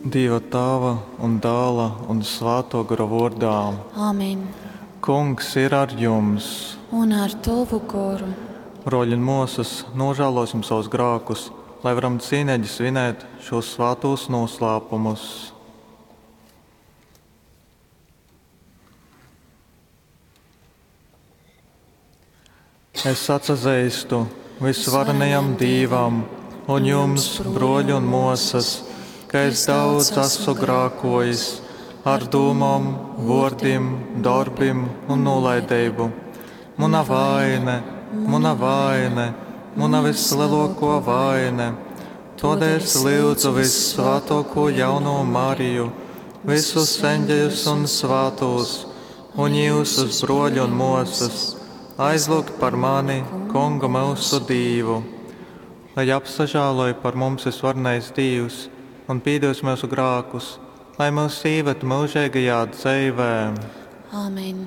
Dīva Tāva un Dāla un Svātō Gora vōrdā. Āmen. Kungs ir ar jums. Un ar tovu goru. Brōļi un mōsas, nožēlosim savus grākus, lai varam cīneigi svinēt šos svātūs noslēpumus. Es atsazeistu visvarenajam Dīvam un jums, brōļi un mōsas, ka es daudz esmu grākojis ar dūmom, vōrdim, dorbim un nūlaideibu. Muna vaine, muna vaine, muna vislielākā vaine. Tādēļ es lūdzu vissvētāko jauno Mariju, visus eņģeļus un svētos, un jūsus brōļi un mōsas, aizlūgt par mani, Kungu mūsu Dīvu. Lai apsažāloj par mums visvarenais Dīvs un pīdos mūsu grākus, lai mūs ieved mūžīgajā dzīvē. Āmen.